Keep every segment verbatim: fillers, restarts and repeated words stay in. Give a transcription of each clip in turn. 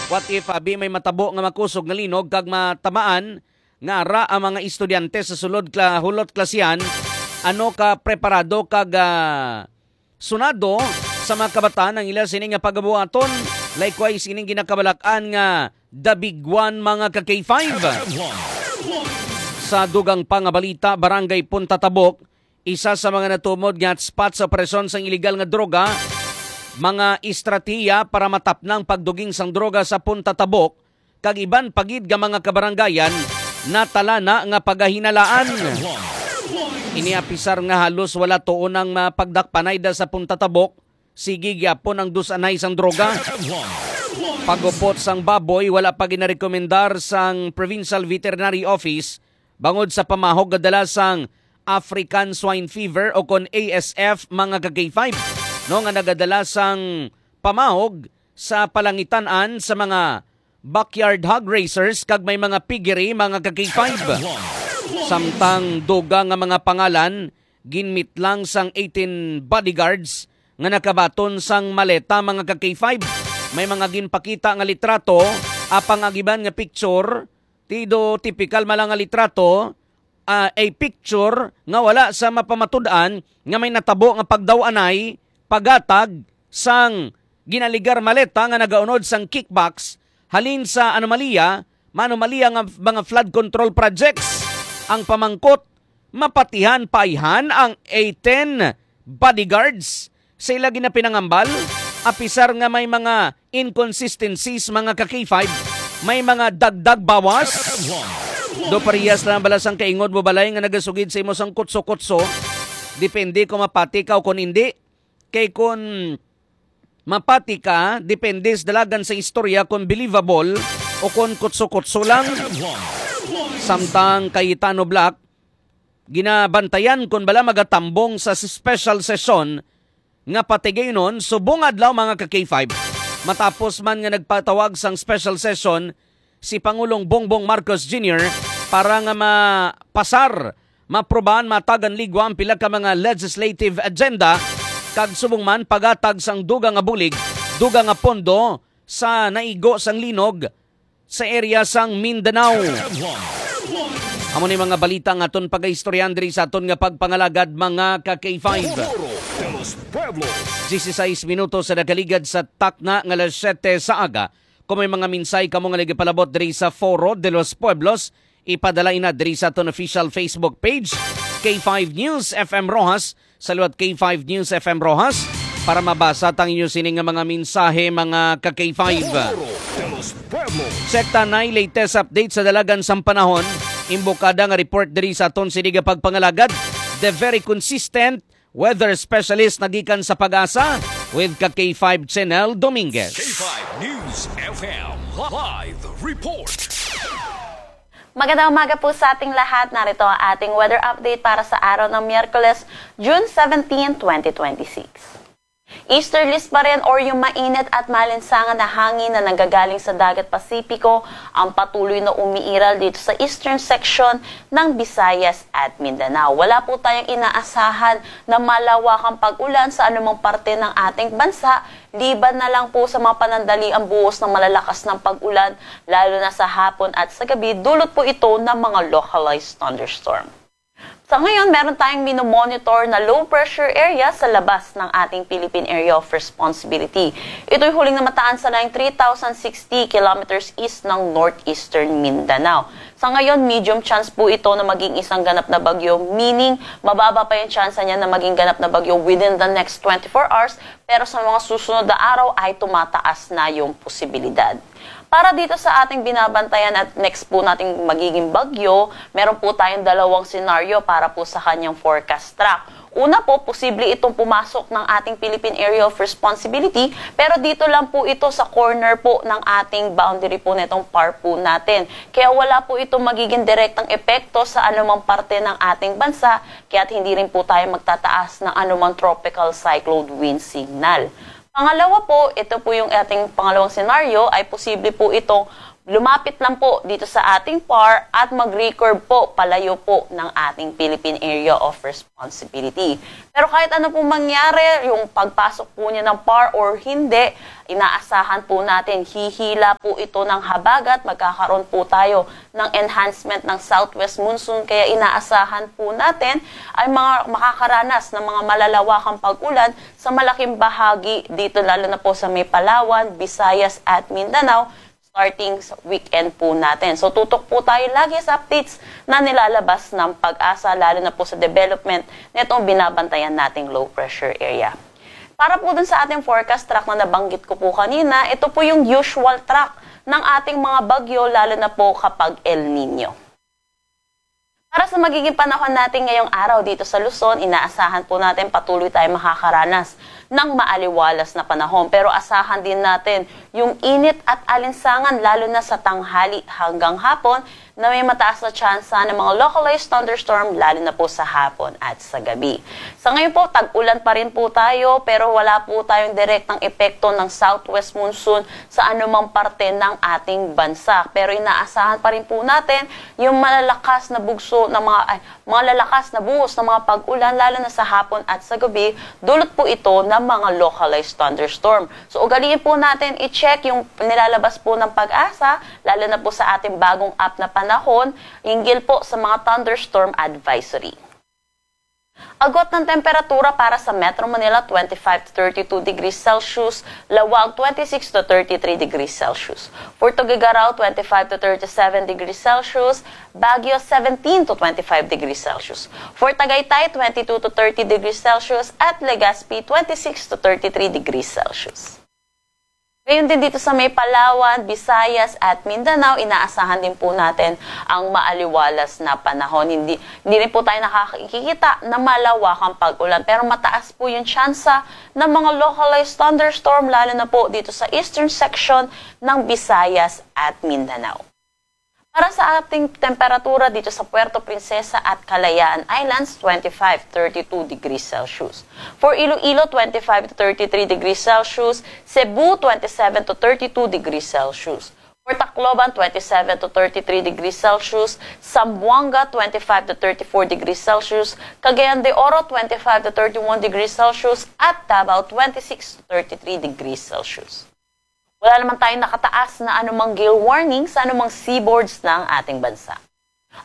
What if abi may matabo nga makusog nga linog kag matamaan nga ara ang mga estudyante sa sulod kla-, hulot klasihan? Ano ka preparado kag, ah, sunado sa mga kabataan ang ila sini nga pagabuhaton? Likewise, ining ginakabalak-an nga The Big One, mga ka K five. Sa dugang pa nga balita, Barangay Punta Tabok, isa sa mga natumod nga hotspot sa operasyon sang iligal nga droga, mga estratehiya para matapnang pagduging sang droga sa Punta Tabok kag iban pa gid nga mga kabaranggayan natala na nga pagahinalaan. Ini apisar nga halos wala tuon ang mapagdakpanay da sa Punta Tabok, sige gyapon ang dus-anay sang droga. Pagupot sang baboy wala pa ginarekomendar sang Provincial Veterinary Office bangod sa pamahog nga dala sang African Swine Fever o kon A S F, mga ka K five, no, nga nagadala sang pamahog sa palangitan-an sa mga backyard hog raisers kag may mga piggery, mga ka K five. Samtang dugang nga mga pangalan ginmitlang sang eighteen bodyguards nga nakabaton sang maleta, mga ka K five. May mga ginpakita nga litrato, apang ang iban nga picture, tido tipikal man lang nga litrato, ah, a picture nga wala sa mapamatud-an nga may natabo nga pagdaw-anay, paghatag sang ginaligar maleta nga nagaunod sang kickbacks halin sa anomalya, maanomalya nga mga flood control projects. Ang pamangkot, mapatihan pa ayhan ang eighteen bodyguards sa ila ginapinangambal, apisar nga may mga inconsistencies, mga ka K five, may mga dagdag bawas. Do parehas lang bala sang kaingod mo balay nga nagasugid sa imo sang kutso-kutso. Depende kung mapati ka o kung hindi. Kay kung mapati ka, depende sa dalagan sa istorya kung believable o kung kutso-kutso lang. Samtang Cayetano Black, ginabantayan kon bala magatambong sa special session nga patigayunon subong adlaw, mga ka K five. Matapos man nga nagpatawag sang special session si Pangulong Bongbong Marcos Junior para nga mapasar, maprobahan, matagan ligwa ang pila ka mga legislative agenda, kag subong man paghatag sang dugang nga bulig, dugang nga pondo sa naigo sang linog sa area sang Mindanao. Amo ni mga balita nga aton pagaistoryahan diri sa aton nga pagpangalagad, mga ka K five. Dieciséis minutos sa nakaligad sa takna nga alas siyete sa aga. Kung may mga mensahe kamo nga nagapalabot diri sa Foro de los Pueblos, ipadala ina diri sa aton official Facebook page, K five News F M Roxas, sa liwat K five News F M Roxas, para mabasa tang inyo sini nga mga mensahe, mga ka K five. Foro de los Pueblos. Check ta nay latest update sa dalagan sang panahon. Imbokada nga report diri sa aton sini nga pagpangalagad. The very consistent weather specialist na gikan sa PAGASA with ka K five Chenel Dominguez. K five News F M live report. Magandang umaga po sa ating lahat. Narito ang ating weather update para sa araw ng Miyerkules, June seventeen, twenty twenty-six. Easterlies pa rin or yung mainit at malinsangan na hangin na nanggagaling sa Dagat Pasipiko ang patuloy na umiiral dito sa eastern section ng Visayas at Mindanao. Wala po tayong inaasahan na malawakang pag-ulan sa anumang parte ng ating bansa, liban na lang po sa mga panandaliang buhos ng malalakas ng pag-ulan, lalo na sa hapon at sa gabi, dulot po ito ng mga localized thunderstorm. Sa ngayon, meron tayong minomonitor na low pressure area sa labas ng ating Philippine Area of Responsibility. Ito'y huling namataan sa line three thousand sixty kilometers east ng northeastern Mindanao. Sa ngayon, medium chance po ito na maging isang ganap na bagyo, meaning mababa pa yung tsansa niya na maging ganap na bagyo within the next twenty-four hours, pero sa mga susunod na araw ay tumataas na yung posibilidad. Para dito sa ating binabantayan at next po nating magiging bagyo, meron po tayong dalawang senaryo para po sa kanyang forecast track. Una po, posible itong pumasok ng ating Philippine Area of Responsibility, pero dito lang po ito sa corner po ng ating boundary po nitong PAR po natin. Kaya wala po itong magiging direktang epekto sa anumang parte ng ating bansa, kaya't hindi rin po tayo magtataas ng anumang tropical cyclone wind signal. Pangalawa po, ito po yung ating pangalawang senaryo, ay posible po itong Lumapit lang po dito sa ating par at mag-record po palayo po ng ating Philippine Area of Responsibility. Pero kahit ano pong mangyari, yung pagpasok po niya ng par or hindi, inaasahan po natin, hihila po ito ng habagat, magkakaroon po tayo ng enhancement ng southwest monsoon, kaya inaasahan po natin ay mga makakaranas ng mga malalawakang pag-ulan sa malaking bahagi dito, lalo na po sa may Palawan, Visayas at Mindanao, starting sa weekend po natin. So, tutok po tayo lagi sa updates na nilalabas ng PAGASA, lalo na po sa development nitong binabantayan nating low pressure area. Para po dun sa ating forecast track na nabanggit ko po kanina, ito po yung usual track ng ating mga bagyo, lalo na po kapag El Nino. Para sa magiging panahon natin ngayong araw dito sa Luzon, inaasahan po natin patuloy tayong makakaranas ng maaliwalas na panahon. Pero asahan din natin yung init at alinsangan, lalo na sa tanghali hanggang hapon, na may mataas na tsansa ng mga localized thunderstorm, lalo na po sa hapon at sa gabi. Sa ngayon po, tag-ulan pa rin po tayo, pero wala po tayong direktang epekto ng southwest monsoon sa anumang parte ng ating bansa. Pero inaasahan pa rin po natin yung malalakas na bugso ng mga, ay, mga lalakas na buhos ng mga pag-ulan, lalo na sa hapon at sa gabi, dulot po ito ng mga localized thunderstorm. So, ugaliin po natin i-check yung nilalabas po ng PAGASA, lalo na po sa ating bagong app na Panahon, hinggil po sa mga thunderstorm advisory. Agwat ng temperatura para sa Metro Manila, twenty-five to thirty-two degrees Celsius, Laoag, twenty-six to thirty-three degrees Celsius. For Tuguegarao, twenty-five to thirty-seven degrees Celsius, Baguio, seventeen to twenty-five degrees Celsius. For Tagaytay, twenty-two to thirty degrees Celsius, at Legazpi, twenty-six to thirty-three degrees Celsius. Gayon din dito sa may Palawan, Visayas, at Mindanao, inaasahan din po natin ang maaliwalas na panahon. Hindi, hindi rin po tayo nakakikita na malawakang pag-ulan, pero mataas po yung tsansa ng mga localized thunderstorm, lalo na po dito sa eastern section ng Visayas at Mindanao. Para sa ating temperatura dito sa Puerto Princesa at Kalayaan Islands, twenty-five, thirty-two degrees Celsius. For Iloilo, twenty-five to thirty-three degrees Celsius. Cebu, twenty-seven to thirty-two degrees Celsius. For Tacloban, twenty-seven to thirty-three degrees Celsius. Zamboanga, twenty-five to thirty-four degrees Celsius. Cagayan de Oro, twenty-five to thirty-one degrees Celsius. At Davao, twenty-six to thirty-three degrees Celsius. Wala naman tayong nakataas na anumang gale warning sa anumang seaboards ng ating bansa.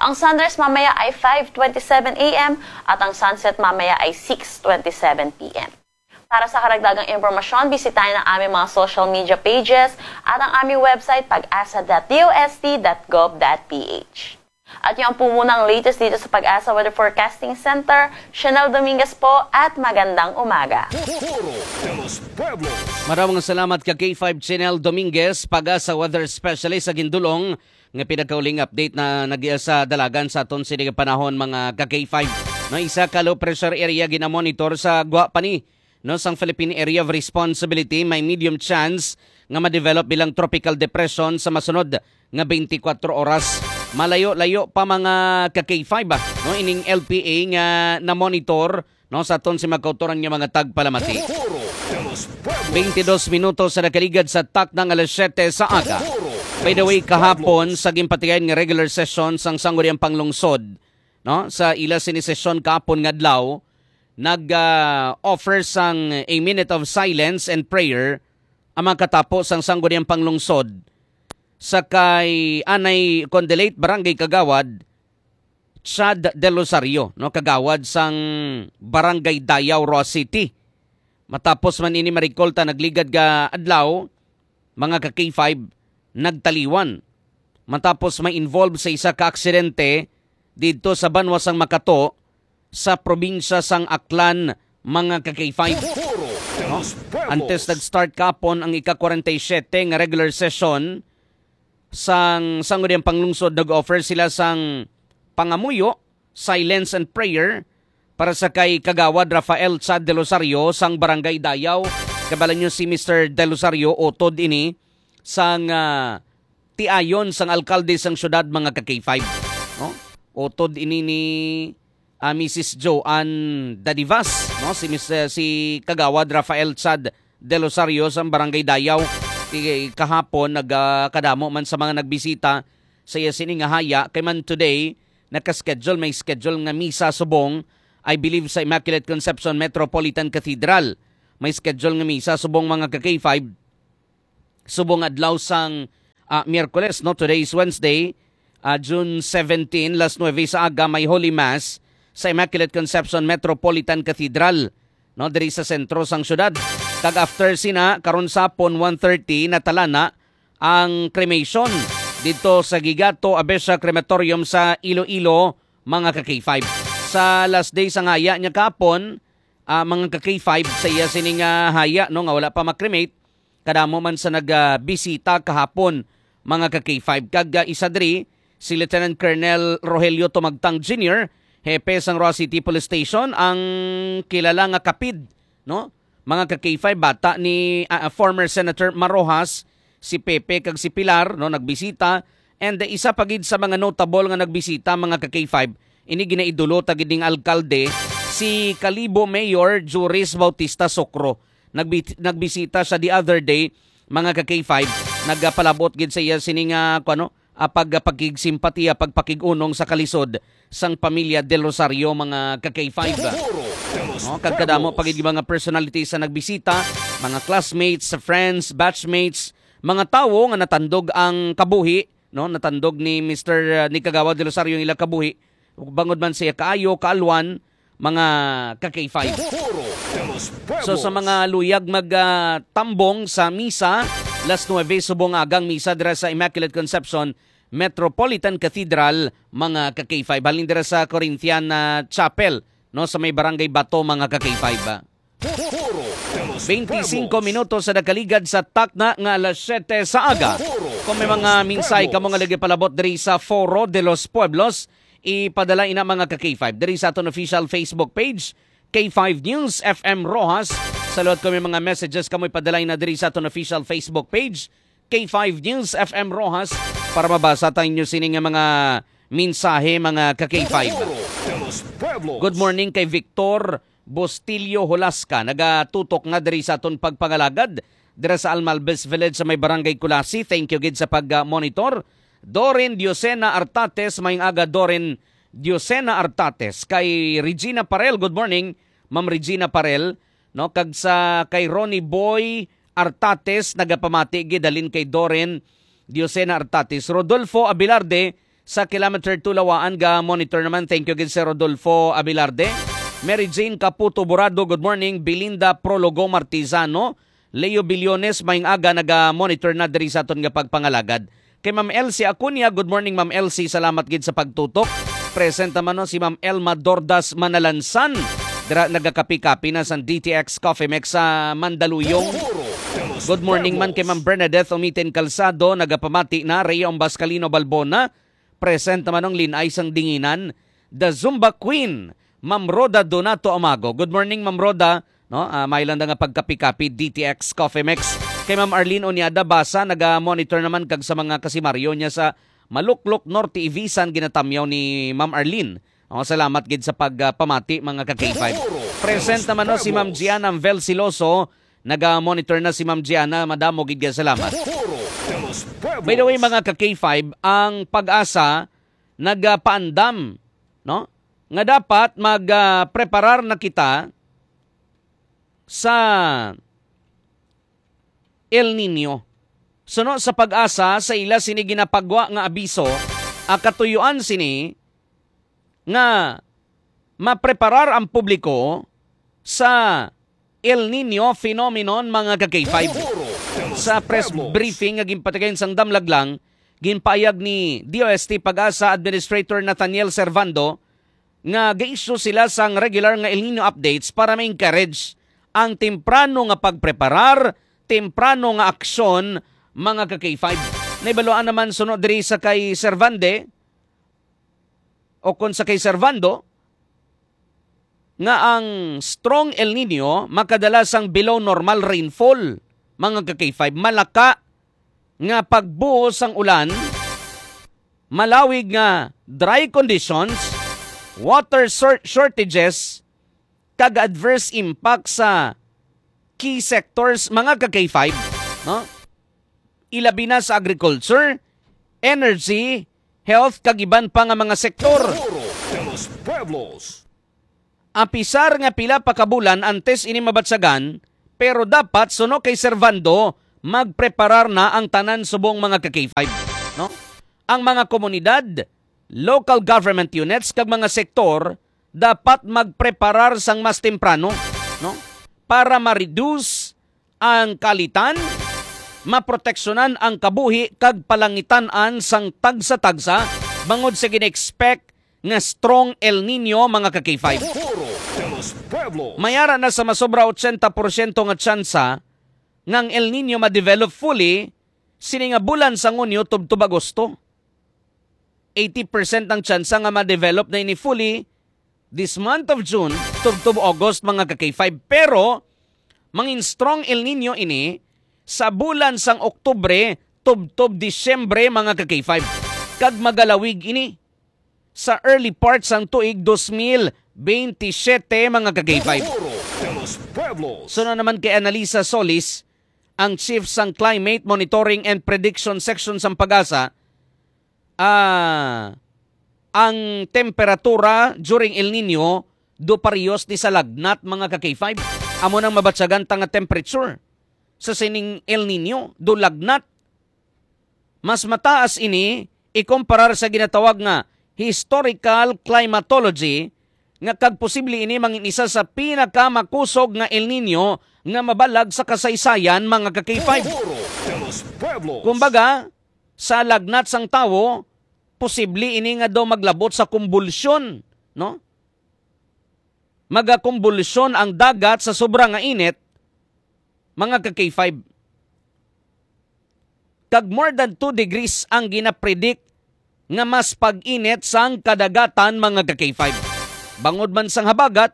Ang sunrise mamaya ay five twenty-seven a m at ang sunset mamaya ay six twenty-seven p m. Para sa karagdagang impormasyon, bisitahin ang aming mga social media pages at ang aming website, pag-asa dot D O S T dot gov dot P H. At yan po muna ang latest dito sa PAGASA Weather Forecasting Center. Chanel Dominguez po at magandang umaga. Foro de los Pueblos. Maraming salamat ka K five Chanel Dominguez, PAGASA Weather Specialist sa gindulong nga pinakauling update na nagiya sa dalagan sa aton sini nga panahon, mga ka K five. No, isa ka low pressure area ginamonitor sa gwa pa ni, no, sang Philippine Area of Responsibility, may medium chance nga ma-develop bilang tropical depression sa masunod nga twenty-four oras. Malayo-layo pa, mga ka K five, ah, no, ining L P A nga na-monitor, no, sa aton si magkautoran nga mga tagpalamati. Twenty-dos minutos sa nakaligad sa takna nga alas siyete sa aga. By the way, kahapon, sa ginpatigayon nga regular session sang Sangguniang Panglungsod, no, sa ila sini sesyon kahapon nga adlaw, nag, ah, offer sang a minute of silence and prayer ang mga katapo sang Sangguniang Panglungsod sa kay anay kon the late Barangay Kagawad Chad Del Rosario, no, kagawad sang Barangay Dayaw, Roxas City. Matapos man ini marikolta nagligad nga adlaw, mga ka K five, nagtaliwan matapos ma-involve sa isa ka aksidente didto sa banwa sang Makato sa probinsya sang Aklan, mga ka K five. Antes nag-start kahapon ang ika-forty-seven nga regular session sang Sangguniang Panglungsod, nag-offer sila sang pangamuyo, silence and prayer para sa kay Kagawad Rafael Chad Del Rosario sang Barangay Dayaw. Kabalo nyo si Mister Del Rosario, utod ini sang, ah, tiayon sang alkalde sang syudad, mga ka K five, no? Utod ini ni, ah, Missus Joanne Dadivas, no? Si Mis-, eh, si Kagawad Rafael Chad Del Rosario sang Barangay Dayaw. City kahapon, nagakadamo man sa mga nagbisita sa iya sini nga haya. Kay man today, naka-schedule, may schedule nga misa subong, I believe, sa Immaculate Conception Metropolitan Cathedral. May schedule nga misa subong, mga ka-K five, subong adlaw sang, ah, Miyerkules, no? Today is Wednesday, ah, June seventeen, las nuebe sa aga, may Holy Mass sa Immaculate Conception Metropolitan Cathedral, no, diri sa sentro sang syudad. Kag after sina, karon sa hapon, one thirty, natalana ang cremation dito sa Gigato Abesha Crematorium sa Iloilo, mga ka-K five. Sa last day sa ngaya niya kahapon, ah, mga ka-K five, sa iya sini nga haya, no, nga wala pa ma-cremate, kadamo man sa nagbisita kahapon, mga ka-K five. Kag, ah, isa diri, si Lieutenant Colonel Rogelio Tumagtang Junior, hepe sang Roxas City Police Station, ang kilala nga kapid, no? Mga ka-K five, bata ni, ah, ah, former Senator Mar Roxas, si Pepe kag si Pilar, no, nagbisita. And isa pa gid sa mga notable nga nagbisita, mga ka-K five, ini ginaidolo ta gid ning alkalde, si Kalibo Mayor Juris Bautista Socro. Nagbi-, nagbisita siya the other day, mga ka-K five. Nagpalabot gid sa iya sini nga, kuno, ah, pag-, pagkigsimpatiya, pagpakig-unong sa kalisod sang pamilya Del Rosario, mga ka-K five. No, kag kadamo pa gid mga personalities sa nagbisita, mga classmates, friends, batchmates, mga tawo nga natandog ang kabuhi, no, natandog ni Mister, uh, ni Kagawad Del Rosario ang ila kabuhi, bangod man siya kaayo, kaalwan, mga ka-K five. So, sa mga luyag mag, ah, tambong sa misa, las nuebe subong agang misa dira sa Immaculate Conception Metropolitan Cathedral, mga ka-K five. Halin dira sa Corinthian, ah, Chapel, no, sa may Barangay Bato, mga ka-K five, ah. Twenty-cinco minutos sa nakaligad sa takna nga alas siyete sa aga. Kung may mga mensahe kamo nga lagi palabot diri sa Foro de los Pueblos, ipadala ina, mga ka-K five, diri sa aton official Facebook page, K five News F M Roxas. Sa liwat, kung may mga messages kamo, ipadala ina diri sa aton official Facebook page, K five News F M Roxas, para mabasa ta inyo sini nga mga mensahe, mga ka-K five. Good morning kay Victor Bustillo Holasca, nagatutok nga diri sa aton pagpangalagad dira sa Almalbes Village sa may Barangay Culasi. Thank you gid sa pag-monitor. Dorin Diosena Artates, maayong aga, Dorin Diosena Artates. Kay Regina Parel, good morning, Ma'am Regina Parel, no? Kag sa kay Ronnie Boy Artates, nagapamati gid halin kay Dorin Diosena Artates. Rodolfo Abilarde, sa Kilometer two Lawaan, ga monitor naman. Thank you gid, Sir Rodolfo Abilarde. Mary Jane Caputo Burado, good morning. Belinda Prologo Martizano, Leo Billones, maayong aga, naga-monitor na diri sa aton nga pagpangalagad. Kay Ma'am Elsie Acuña, good morning, Ma'am Elsie, salamat gid sa pagtutok. Present naman, no, si Ma'am Elma Dordas Manalansan, dira nagakapi-kapi na sa D T X Coffee Mix sa Mandaluyong. Good morning man kay Ma'am Bernadette Umitin Calzado, nagapamati na. Rhea Umbascalino Balbona, present naman ang Linay sang Dinginan, The Zumba Queen, Ma'am Rhoda Donato Amago. Good morning, Ma'am Rhoda. No, ah, may lang nga pagkapi-kapi, D T X Coffee Mix. Kay Ma'am Arlene Onyada Basa, naga-monitor naman kag sa mga kasimaryo niya sa Maluklok Norte, Ibisan, ginatamyaw ni Ma'am Arlene. Oh, salamat gid sa pagpamati, mga ka-K five. Present naman, no, si Ma'am Gianna Amvel Siloso. Naga-monitor na si Ma'am Gianna. Madamo gid nga salamat. By the way, mga ka-K five, ang PAGASA nagapaandam, no, nga dapat mag, ah, preparar na kita sa El Niño. Suno sa PAGASA, sa ila sini ginapagwa nga abiso, ang katuyuan sini nga mapreparar ang publiko sa El Niño phenomenon, mga ka-K five. Sa press briefing nga ginpatigayon sang Damlaglang, ginpahayag ni D O S T PAGASA Administrator Nathaniel Servando nga ga-issue sila sang regular nga El Niño updates para ma-encourage ang temprano nga pagpreparar, temprano nga aksyon, mga ka-K five. Nahibaluan naman suno diri sa kay Servande, o kon sa kay Servando, nga ang strong El Niño makadala sang below normal rainfall, mga ka-K five. Malaka nga pagbuhos sang ulan, malawig nga dry conditions, water shor-, shortages, kag adverse impact sa key sectors, mga ka-K five, no? ilabi na sa agriculture, energy, health, kag iban pa nga mga sektor. Foro de los Pueblos. Apisar nga pila pa ka bulan antes ini mabatyagan, pero dapat suno kay Servando, magpreparar na ang tanan subong mga ka-K five, no? Ang mga komunidad, local government units, kag mga sektor dapat magpreparar sang mas temprano, no? Para ma-reduce ang kalitan, maproteksyonan ang kabuhi kag palangitan-an sang tagsa-tagsa bangod sa gina-expect nga strong El Nino, mga ka-K five. Foro de los Pueblos. Mayara na sa masobra ochenta porsyento nga tsansa nga ang El Nino ma-develop fully sini nga bulan sang Hunyo tubtob Agosto. Eighty percent ang tsansa nga ma-develop na ini fully this month of June tubtob August, mga ka-K five. Pero mangin strong El Nino ini sa bulan sang Oktubre tubtob Disyembre, mga ka-K five. Kag magalawig ini sa early part sang tuig dos mil bentisiete, mga ka-K five. Foro de los Pueblos. Suno naman kay Analisa Solis, ang chief sang Climate Monitoring and Prediction Section sang PAGASA, ah, ang temperatura during El Nino do parehos ni sa lagnat, mga ka-K five. Amo nang mabatyagan ta nga temperature sa sining El Nino do lagnat. Mas mataas ini ikumparar sa ginatawag nga historical climatology, nga kag posible ini mangin isa sa pinakamakusog nga El Nino nga mabalag sa kasaysayan, mga ka-K five. Foro de los Pueblos. Kumbaga, sa lagnat sang tawo, posible ini nga daw maglabot sa kumbulsyon, no? Magakumbulsyon ang dagat sa sobra nga init, mga ka-K five. Kag more than two degrees ang ginapredict nga mas pag-init sang kadagatan, mga ka-K five. Bangod man sang habagat,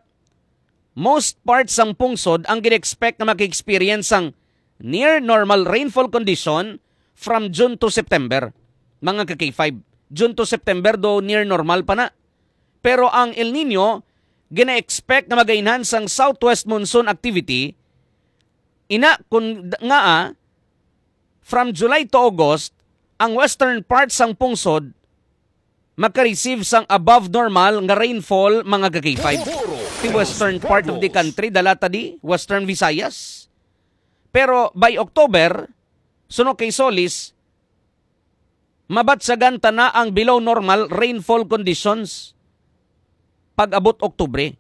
most parts sang pungsod ang gina-expect nga maka-experience sang near normal rainfall condition from June to September, mga ka-K five. June to September do near normal pa na. Pero ang El Nino gina-expect nga mag-enhance ang southwest monsoon activity. Ina, kun d-, ngaa, from July to August, ang western part sang pungsod maka-receive sang above normal nga rainfall, mga ka-K five. Ti western part of the country, dala ta di, Western Visayas. Pero by October, suno kay Solis, mabatyagan ta na ang below normal rainfall conditions pag-abot Oktubre.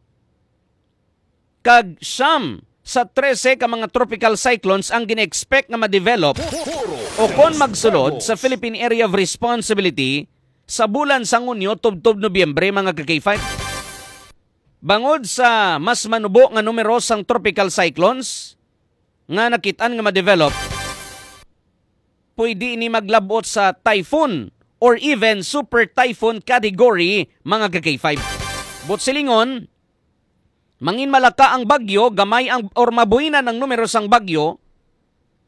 Kag siyam sa trese ka mga tropical cyclones ang gina-expect nga ma-develop o kon magsulod sa Philippine Area of Responsibility sa bulan sang Hunyo tubtob Nobyembre, mga ka-K five. Bangod sa mas manubo nga numero sang tropical cyclones nga nakit-an nga ma-develop, pwede ini maglabot sa typhoon or even super typhoon category, mga ka-K five. Buot silingon, mangin malaka ang bagyo, gamay ang, or mabuhinan ang numero sang bagyo,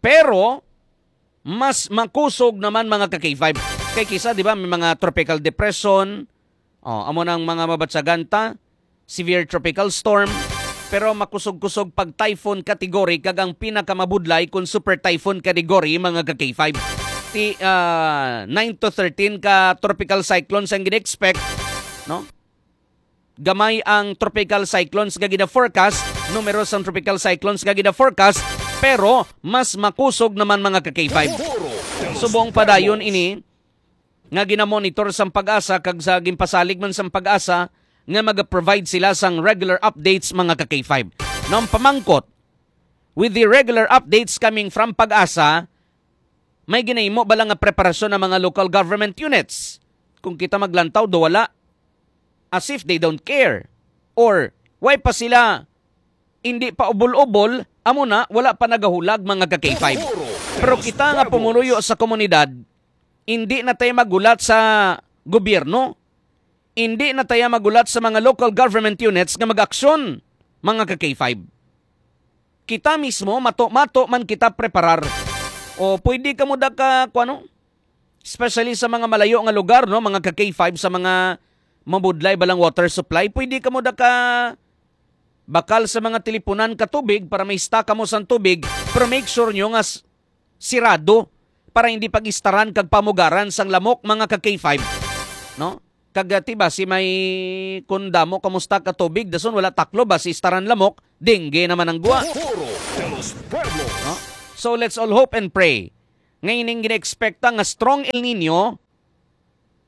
pero mas makusog naman, mga ka-K five. Kay kisa, di ba, may mga tropical depression, oh, amo nang mga mabatyagan ta, severe tropical storm, pero makusog-kusog pag typhoon category, kag ang pinakamabudlay kung super typhoon category, mga ka-K five. Ti, ah, nine to thirteen ka tropical cyclones ang gina-expect, no? Gamay ang tropical cyclones nga gina-forecast, numero sang tropical cyclones nga gina-forecast, pero mas makusog naman, mga ka-K five. Subong padayon ini nga ginamonitor sang PAGASA kag sa ginpasalig man sang PAGASA nga maga-provide sila sang regular updates, mga ka-K five. Now, ang pamangkot, with the regular updates coming from PAGASA, may ginahimo bala nga preparasyon ang mga local government units? Kung kita maglantaw, do wala. As if they don't care. Or, why pa sila hindi pa ubol-ubol, amo na, wala pa nagahulag, mga ka-K five. Pero kita nga pumuluyo sa komunidad, hindi na tayo magulat sa gobyerno. Hindi na tayo magulat sa mga local government units nga mag-aksyon, mga ka-K five. Kita mismo, mato-mato man kita preparar. O pwede kamo da ka, kuwano? Especially sa mga malayo nga lugar, no, mga ka-K five, sa mga mabudlay balang water supply, pwede kamo da ka bakal sa mga tilipunan ka tubig para may stock kamo sang tubig, pero make sure nyo nga s-, sirado. para hindi pag-istaran kag pamugaran sang lamok, mga ka K five, no? Kag, ah, ti ba, si may, kun damo kamusta ka tubig, dason wala taklob, ba si istaran lamok, dengue naman ang gwa. Foro de los Pueblos. No? So, let's all hope and pray nga ining gina-expecta nga strong El Nino,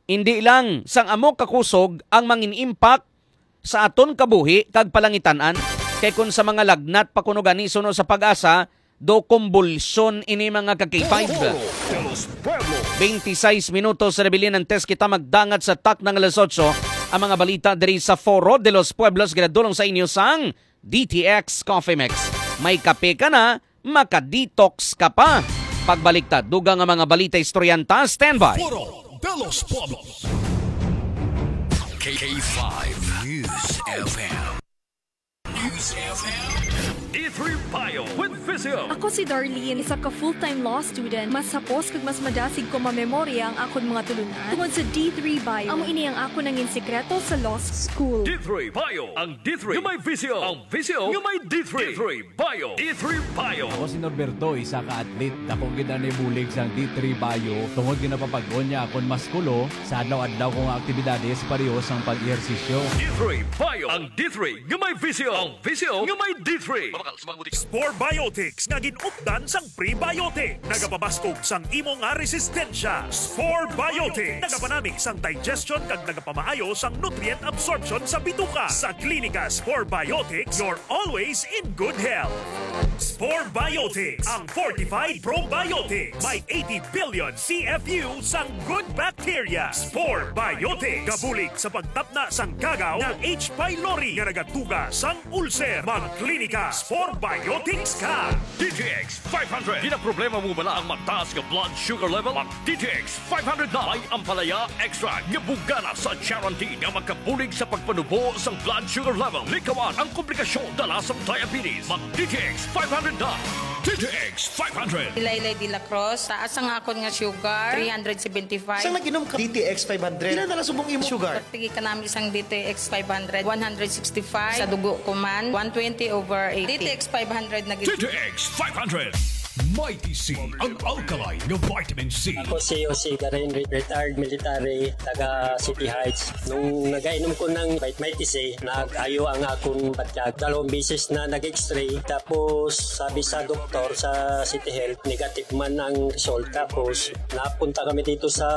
hindi lang sang amo kakusog ang mangin-impact sa aton kabuhi kag palangitan-an, kay kun sa mga lagnat pa kuno gani suno sa pag-asa, do kumbulsyon ini, mga ka K five. Foro de los Pueblos. Twenty-six minutos, rebilin ang test kita magdangat sa tak ng alas otso. Ang mga balita diri sa Foro de los Pueblos, ginadulong sa inyo sang D T X Coffee Mix. May kape ka na, maka-detox ka pa. Pagbalik ta, dugang ang mga balita, istoryanta, standby. Foro de los Pueblos. K five News F M. News F M. D three Bio with Visio. Ako si Darlene, isa ka full-time law student. Mas hapos kag mas madasig ko mamemorya ang akon mga tulunan tungod sa D three Bio. Amo ini ang akon nangin sikreto sa law school. D three Bio, ang D three nga may visyo, ang visyo nga may D three. D three Bio. D three Bio. Ako si Norberto, isa ka athlete. Dako gid ang nabulig sang D three Bio tungod nga napapag-on niya akon maskulo sa adlaw-adlaw ko nga aktibidades, pareho sang pag-ehersisyo. D three Bio. Ang D three nga may visyo, ang visyo nga may D three. Mabakal sa mga butika. Spore Biotics nga gin-updan sang prebiotic. Nagapabaskog sang imo nga resistensya. Spore Biotics. Nagapanami sang digestion kag nagapamaayo sang nutrient absorption sa bituka. Sa Klinika Spore Biotics, you're always in good health. Spore Biotics, ang fortified probiotics. May eighty billion C F U sang good bacteria. Spore Biotics. Gabulig sa pagtapna sang kagaw nga H. pylori nga nagatuga sang ulcer. Mag-Klinika Spore Biotics ka. D T X five hundred. Ginaproblema mo bala ang mataas nga blood sugar level? Mag D T X five hundred na. May ampalaya extract nga bugana sa charantin nga makabulig sa pagpanubo sang blood sugar level. Likawan ang komplikasyon dala sa diabetes. Mag D T X five hundred na. D T X five hundred. Laylay de la Cruz, taas ang akon nga sugar, three hundred seventy-five. Sang nag-inom ka D T X five hundred, pila na lang subong imo sugar? Sige ka nami sang D T X five hundred, one hundred sixty-five. Sa dugo ko man, one twenty over eighty. D T X five hundred na gid. D T X five hundred. Mighty C, ang alkaline nga vitamin C. Ako si Jose Garin, re-, retired military, taga City Heights. Nung nagainom ko ng Might-, Mighty C, nag-ayo ang akong batyag. Dalawang beses na nag-X-ray. Tapos, sabi sa doktor sa City Health, negative man ang result. Tapos, napunta kami dito sa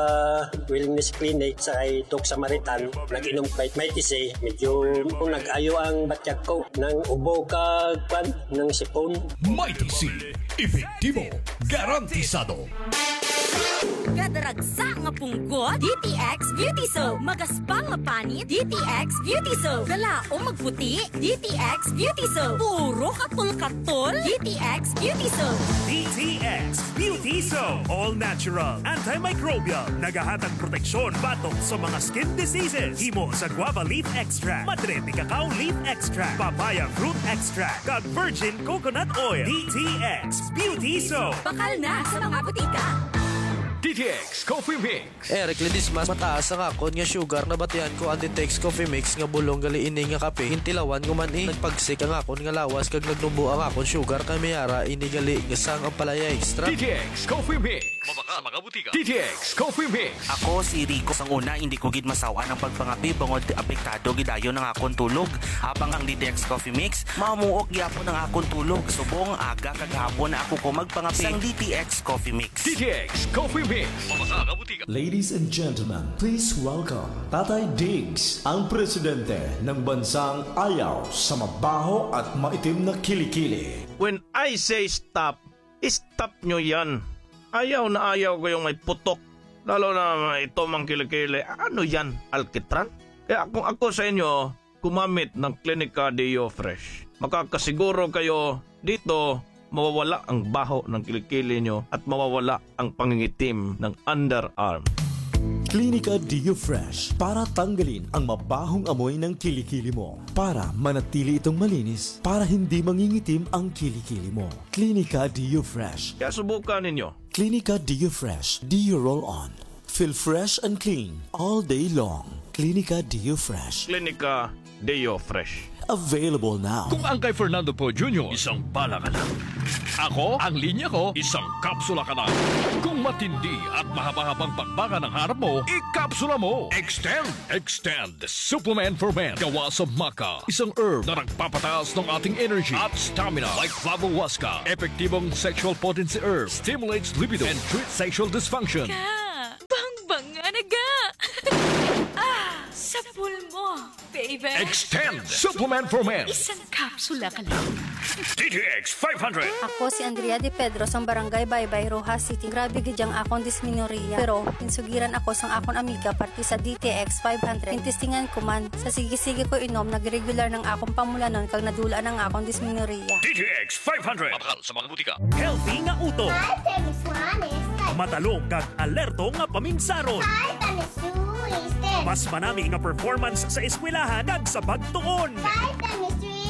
Wellness Clinic sa kay Doc Samaritan. Nag-inom Might-, Mighty C. Medyo nag-ayo ang batyag ko. Nang ubo ka, kwan, nang sipon. Mighty C, epektibo, garantisado. Kadaragsa nga punggot, D T X Beauty Soap. Magaspang nga panit, D T X Beauty Soap. Galaom magputi, D T X Beauty Soap. Puro katol-katol, D T X Beauty Soap. D T X Beauty Soap. All natural, antimicrobial. Nagahatag proteksyon batok sa mga skin diseases. Himo sa guava leaf extract, madre de cacao leaf extract, papaya fruit extract, kag virgin coconut oil. D T X Beauty Soap. Bakal na sa mga butika. D T X Coffee Mix. Eric Ledesma, mataas ang akon nga sugar. Nabatian ko ang D T X Coffee Mix nga bulong gali ini nga kape. Gintilawan ko man, eh. Nagpagsik ang akon nga lawas kag nagnubo ang akon sugar kay may ara ini gali nga sang ampalaya extract. D T X Coffee Mix. Mabakal sa mga butika. D T X Coffee Mix. Ako si Rico. Sang una, hindi ko gid masaw-an ang pagpangape bangod apektado gid dayon ang akon tulog. Habang ang D T X Coffee Mix, mamuok gyapon ang akon tulog. Subong aga kag hapon na ako ko magpangape. Sang D T X Coffee Mix. D T X Coffee Mix. Mabakal sa mga butika. Ladies and gentlemen, please welcome Tatay Diggs, ang presidente ng bansang ayaw sa mabaho at maitim na kilikili. When I say stop, stop nyo yan. Ayaw na ayaw ko yung may putok. Lalo na ito mang kilikili. Ano yan? Alkitran? Kaya kung ako sa inyo, gumamit ng Clinica Deo Fresh. Makakasiguro kayo dito, mawawala ang baho ng kilikili nyo at mawawala ang pangingitim ng underarm. Clinica Deo Fresh para tanggalin ang mabahong amoy ng kilikili mo, para manatili itong malinis, para hindi mangingitim ang kilikili mo. Clinica Deo Fresh. Kaya subukan ninyo. Clinica Deo Fresh Deo Roll On. Feel fresh and clean all day long. Clinica Deo Fresh. Clinica Deo Fresh. Available now. Kung ang kay Fernando Poe Junior, isang bala ka lang. Ako, ang linya ko, isang kapsula ka lang. Kung matindi at mahaba-habang bakbakan ang harap mo, ikapsula mo. Extend, Extend Supplement for Men. Gawa sa maca, isang herb na nagpapataas ng ating energy at stamina. Like Flavo Huasca, epektibong sexual potency herb, stimulates libido and treats sexual dysfunction. Ka, bangbanga na ga. Ah, sa pulmo, baby. Extend Supplement for Men. Isang kapsula ka lang. D T X five hundred. Ako si Andrea De Pedro sang Barangay Baybay, Roxas City. Grabe gid ang akon dismenorrhea. Pero insugiran ako sang akon amiga parte sa D T X five hundred. Intestingan ko man. Sa sige-sige ko inom, nagregular nang akon pamulanon kag nadula nang akon dismenorrhea. D T X five hundred. Mabakal sa mga butika. Healthy nga utok. Hi, Miss Juanes. Matalong kag alerto nga paminsaron. Hi, Miss Juanes. Mas manami nga performance sa eskwelahan kag sa pagtuon. Hi, Miss Juanes.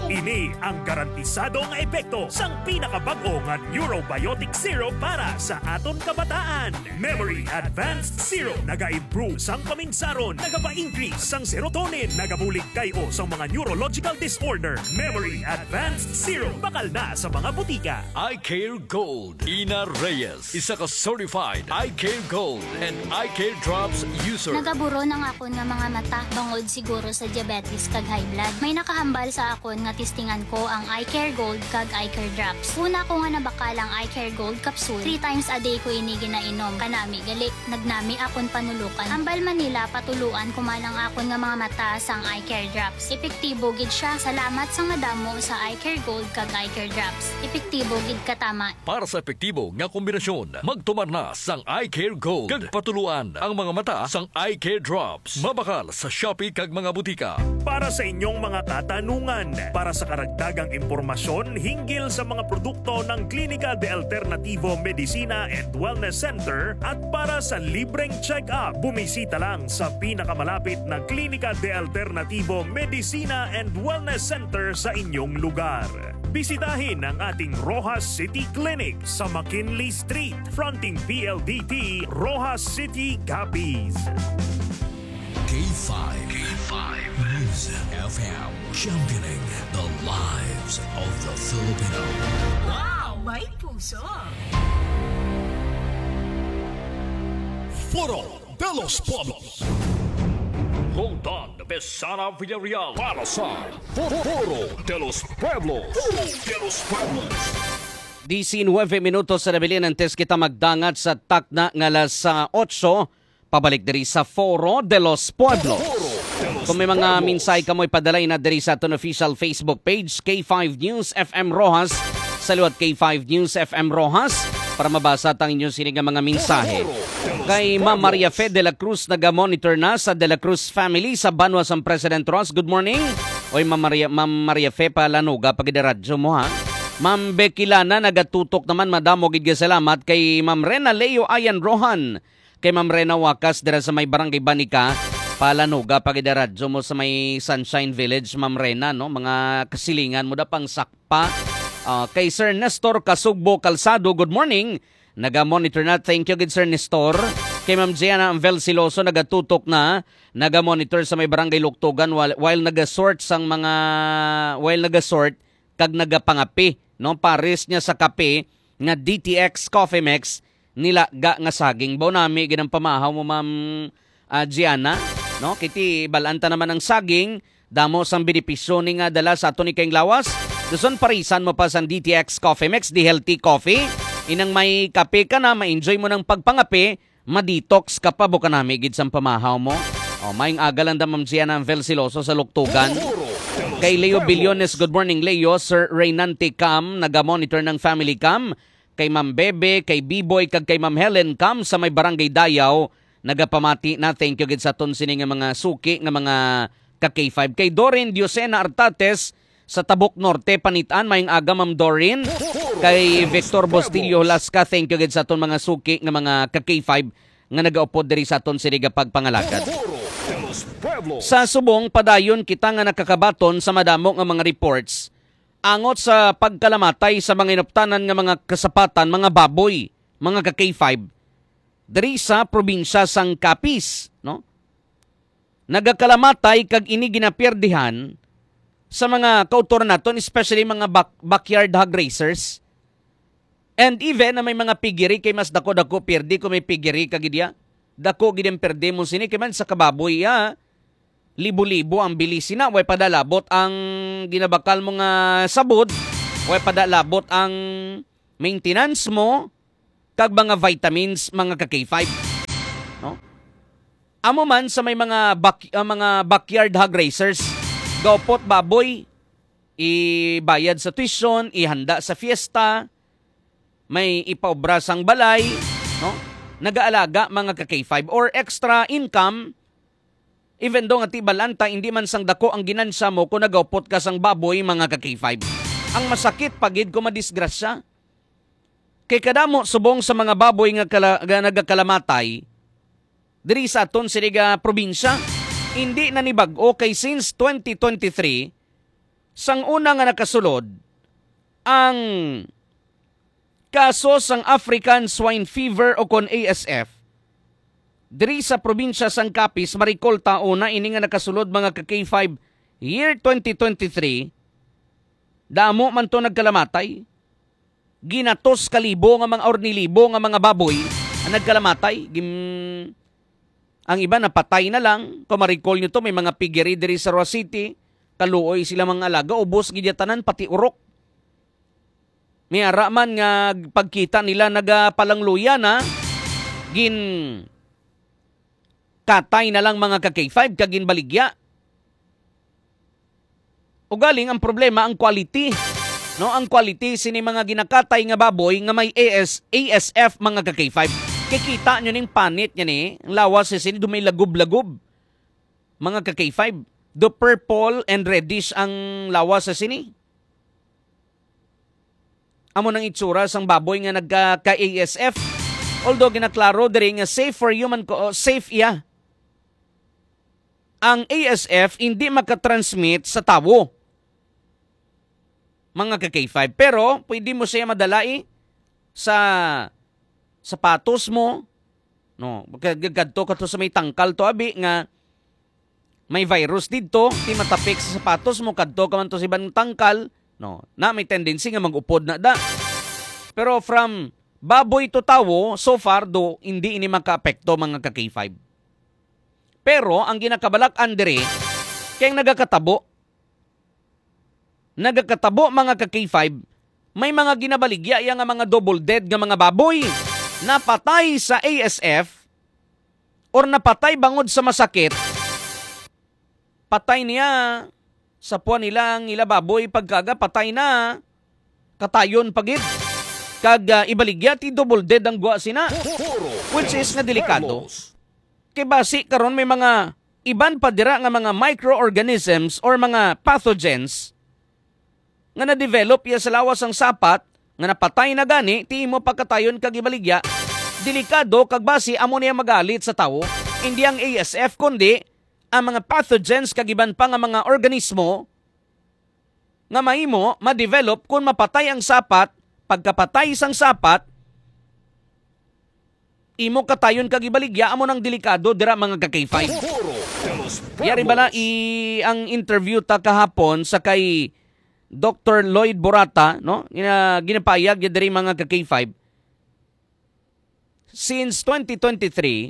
Ini ang garantisado nga epekto sang pinakabag-o nga neurobiotic syrup para sa aton kabataan. Memory Advanced Syrup naga-improve sang paminsaron, nagapa-increase sang serotonin, nagabulig kay-o sang mga neurological disorder. Memory Advanced Syrup, bakal na sa mga butika. Eye Care Gold. Ina Reyes, isa ka certified Eye Care Gold and Eye Care Drops user. Nagaburo na nga akon nga mga mata, bangod siguro sa diabetes kag high blood. May nakahambal sa akon nga testingan ko ang Eye Care Gold kag Eye Care Drops. Una ko nga nabakal ang Eye Care Gold capsule, three times a day ko ini ginainom. Kanami gali, nagnami akon panulukan. Hambal man nila, patuluan ko man ang akon nga mga mata sang Eye Care Drops. Epektibo gid siya. Salamat sang madamo sa Eye Care Gold kag Eye Care Drops. Epektibo gid katama. Para sa epektibo nga kombinasyon, magtumar na sang Eye Care Gold kag patuluan ang mga mata sang Eye Care Drops. Mabakal sa Shopee kag mga butika. Para sa inyong mga katanungan, para sa karagdagang impormasyon hinggil sa mga produkto ng Klinika de Alternativo Medicina and Wellness Center at para sa libreng check-up, bumisita lang sa pinakamalapit na Klinika de Alternativo Medicina and Wellness Center sa inyong lugar. Bisitahin ang ating Roxas City Clinic sa McKinley Street, fronting P L D T, Roxas City, Capiz. K five. K five News F M, championing the lives of the Filipino. Wow! May puso! Foro de los Pueblos. Roldan Besana Villarreal para sa Foro de los Pueblos. Foro de los Pueblos. Diecinueve minutos na nabilin antes kita magdangat sa takna nga alas, ah, otso. Pabalik diri sa Foro de los Pueblos. Kung may mga mensahe kamo, ipadala na diri sa aton official Facebook page, K five News F M Roxas. Sa liwat K five News F M Roxas, para mabasa tang inyo sini nga mga mensahe. Kay Ma'am Maria Fe de la Cruz, naga-monitor na sa De la Cruz family sa banwa sang President Roxas. Good morning. Oy, Ma'am Maria, Ma'am Maria Fe, palanuga pa gid ang radyo mo, ha. Ma'am Becky Lana, nagatutok naman, madamo gid nga salamat. Kay Ma'am Rena Leo Ayan Rohan, kay Ma'am Rena Wakas dira sa may Barangay Banica, palanuga pa gid ang radyo mo sa may Sunshine Village, Ma'am Rena, no? Mga kasilingan mo da pang sakpa. Ah, kay Sir Nestor Kasugbo Calzado, good morning. Naga-monitor na. Thank you gid, Sir Nestor. Kay Ma'am Gianna Anvel Siloso, nagatutok na. Naga-monitor sa may Barangay Luktugan while, while naga-sort sang mga, while naga-sort kag nagapangape, no? Pares niya sa kape nga D T X Coffee Mix, nilaga nga saging. Baw nami gid ang pamahaw mo, Ma'am, ah, Gianna, no? Kiti, bal-an ta naman ang saging, damo sang benepisyo ni nga dala sa aton ikayong lawas. Dason parisan mo pa sang D T X Coffee Mix, the healthy coffee. Inang may kape ka na, ma-enjoy mo ng pagpangape, ma-detox ka pa, buka nami gid sang pamahaw mo. O, maayong aga lang da, Ma'am Gianna Anvel Siloso sa Luktugan. Kay Leo Billones, good morning, Leo. Sir Reynante Cam, naga-monitor ng family cam. Kay Ma'am Bebe, kay Biboy, kag kay Ma'am Helen Cam sa may Barangay Dayaw, nagapamati na. Thank you gid sa aton sini nga mga suki nga mga ka K five. Kay Doreen Diosena Artates, sa Tabuk Norte, Panitan, maayong aga, Ma'am Doreen. Kay Victor Bustillo Hulasca, thank you gid sa aton mga suki nga mga ka K five nga nagaupod diri sa aton sini nga pagpangalagad. Sa subong, padayon kita nga nakakabaton sa madamo nga mga reports angot sa pagkalamatay sa mga inuptanan nga mga kasapatan, mga baboy, mga ka K five, diri sa probinsya sang Capiz, no? nagakalamatay kag ini ginapiyerdihan sa mga kautoran naton, especially mga back-, backyard hog raisers. And even na may mga piggery, kay mas dako-dako piyerde kung may piggery ka gid ya. Dako gid ang perde mo sini, kay man sa kababoy ya, libo-libo ang bili sina, way pa da labot ang ginabakal mo nga sabod, way pa da labot ang maintenance mo, kag mga vitamins, mga ka K five. No? Amo man sa may mga back-, ah, mga backyard hog raisers, gaupot baboy, ibayad sa tuition, ihanda sa fiesta, may ipaobra sang balay, no? Nagaalaga, mga ka K five, or extra income, even though nga tibalan ta, hindi man sang dako ang ginansya mo kung nagaupot ka sang baboy, mga ka K five. Ang masakit pa gid kung madisgrasya. Kay kadamo subong sa mga baboy nga kala-, nga nagakalamatay diri sa aton sini nga probinsya, hindi na ni bag-o, kay since twenty twenty-three, sang una nga nakasulod ang kaso sang African Swine Fever o kon A S F diri sa probinsya sang Capiz, Maricol, taon na ini nga nakasulod, mga ka K five, year twenty twenty-three, damo man to nagkalamatay. Ginatos ka libo nga mga, or ni libo nga mga baboy ang nagkalamatay. Gim-, ang iba napatay na lang. Kung ma-recall nyo to, may mga piggery diri sa Roa City. Kaluoy sila mga alaga, ubos gid ya tanan, pati urok. May ara man nga pagkita nila nagapalangluya na, gin katay na lang, mga ka K five, kag ginbaligya. Ugaling ang problema ang quality. No, ang quality sini mga ginakatay nga baboy nga may A S, A S F, mga ka K five. Kay kita nyo ning panit niya ni, ang lawas sa sini dumay lagob-lagob. Mga ka K five, do purple and reddish ang lawas sa sini. Amo nang itsura sang baboy nga nagka-, ka A S F. Although ginaklaro diri nga safe for human co-, safe iya. Ang A S F hindi makatransmit sa tawo, mga ka K five. Pero pwede mo siya madalai sa sapatos mo, no? Kag-, kadto ka to sa may tangkal to, abi, nga may virus didto, ti matapik sa sapatos mo, kadto ka man to sa ibang tangkal, no? Na may tendency nga mag-upod na da. Pero from baboy to tawo, so far, do, hindi ini makaapekto, mga ka K five. Pero ang ginakabalak-an diri, kay ang nagakatabo, nagakatabo, mga ka K five, may mga ginabaligya iya nga mga double dead nga mga baboy napatay sa A S F or napatay bangod sa masakit. Patay niya sa puwan nila ang ila baboy, pagkaga patay na, katayon pa gid. Kag, ah, ibaligya ti double dead ang gwa sina, which is nga delikado. Kay basi karon may mga iban pa dira nga mga microorganisms or mga pathogens nga na-develop iya sa lawas sang sapat nga napatay na gani, ti imo pagkatayon kag ibaligya, delikado kag basi amo niya magalit sa tawo. Hindi ang A S F, kundi ang mga pathogens kag iban pa nga mga organismo nga mahimo ma-develop kon mapatay ang sapat. Pagkapatay sang sapat, imo katayon kag ibaligya, amo nang delikado dira, mga ka K five. Yari bala i-, ang interview ta kahapon sa kay Doktor Lloyd Borata, no? Gina-, ginapayag niya diri, mga ka K five. Since twenty twenty-three,